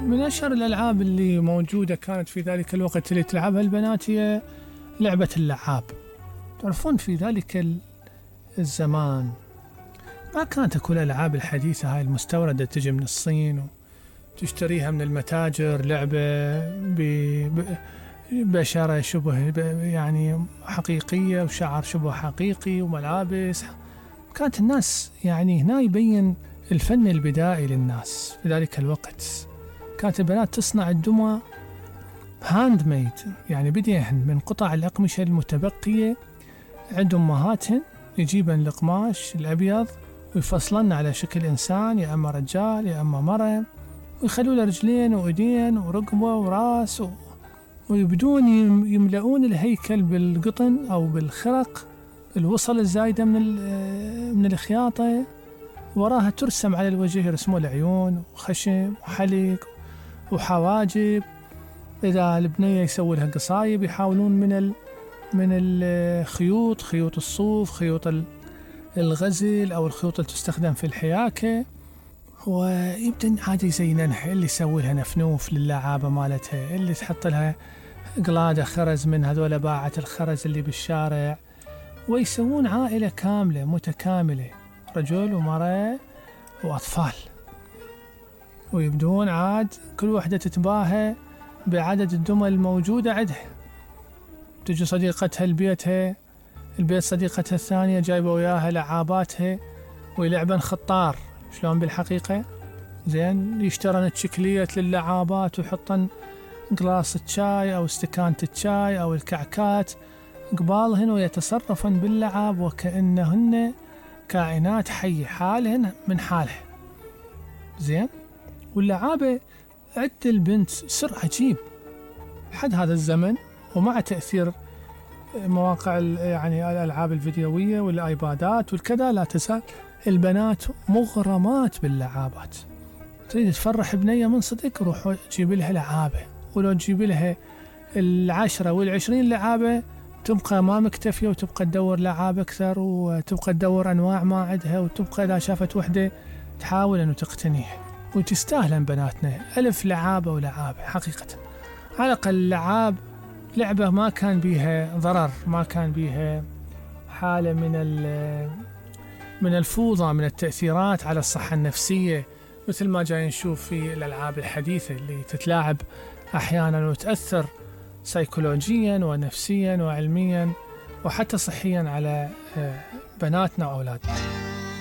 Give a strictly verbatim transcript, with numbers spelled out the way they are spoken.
من أشهر الألعاب اللي موجودة كانت في ذلك الوقت اللي تلعبها البنات هي لعبة اللعاب. تعرفون في ذلك الزمان ما كانت كل الألعاب الحديثة هاي المستوردة تجي من الصين وتشتريها من المتاجر، لعبة ببشرة شبه يعني حقيقية وشعر شبه حقيقي وملابس. كانت الناس يعني هنا يبين الفن البدائي للناس في ذلك الوقت. كانت البنات تصنع الدمى هاند ميد، يعني بديهن من قطع الأقمشة المتبقية عند أمهاتهن، يجيبن القماش الأبيض ويفصلن على شكل إنسان، يا أما رجال يا أما مرة، ويخلوا له رجلين وإيدين ورقبة وراس و... ويبدون يملؤون الهيكل بالقطن أو بالخرق، الوصل الزايدة من من الخياطة، وراها ترسم على الوجه، يرسموا العيون وخشم وحلق وحواجب. إذا البنية يسوي لها قصايب يحاولون من ال من الخيوط، خيوط الصوف، خيوط الغزل أو الخيوط اللي تستخدم في الحياكة، ويبدأ عادي يزيننها، اللي يسوي لها نفنوف للعابة مالتها، اللي تحط لها قلادة خرز من هذول باعة الخرز اللي بالشارع. ويسوون عائلة كاملة متكاملة، رجل ومرأة وأطفال، ويبدون عاد كل وحدة تتباهى بعدد الدمى الموجودة عندها. تجي صديقتها لبيتها، البيت صديقتها الثانية جايبة وياها لعاباتها، ويلعبن خطار شلون بالحقيقة، زين يشترن تشكلية للعابات ويحطن قلاص الشاي أو استكانة الشاي أو الكعكات قبالهن، ويتصرفن باللعاب وكأنهن كائنات حية حالهن من حالها. زين، واللعابة عند البنت سر عجيب حد هذا الزمن، ومع تأثير مواقع يعني الألعاب الفيديوية والآيبادات والكذا، لا تزال البنات مغرمات باللعابات. تريد تفرح بنية من صدق، روح جيب لها لعابة، ولو تجيب لها العشرة والعشرين لعابة تبقى ما مكتفية، وتبقى تدور لعاب أكثر، وتبقى تدور أنواع ما عندها، وتبقى إذا شافت وحدة تحاول أنه تقتنيها. وتستاهلن بناتنا ألف لعابة ولعابة حقيقة. على الأقل اللعاب لعبة ما كان بيها ضرر، ما كان بيها حالة من من الفوضى، من التأثيرات على الصحة النفسية، مثل ما جاي نشوف في الألعاب الحديثة اللي تتلاعب أحيانا وتأثر سيكولوجيا ونفسيا وعلميا وحتى صحيا على بناتنا وأولادنا.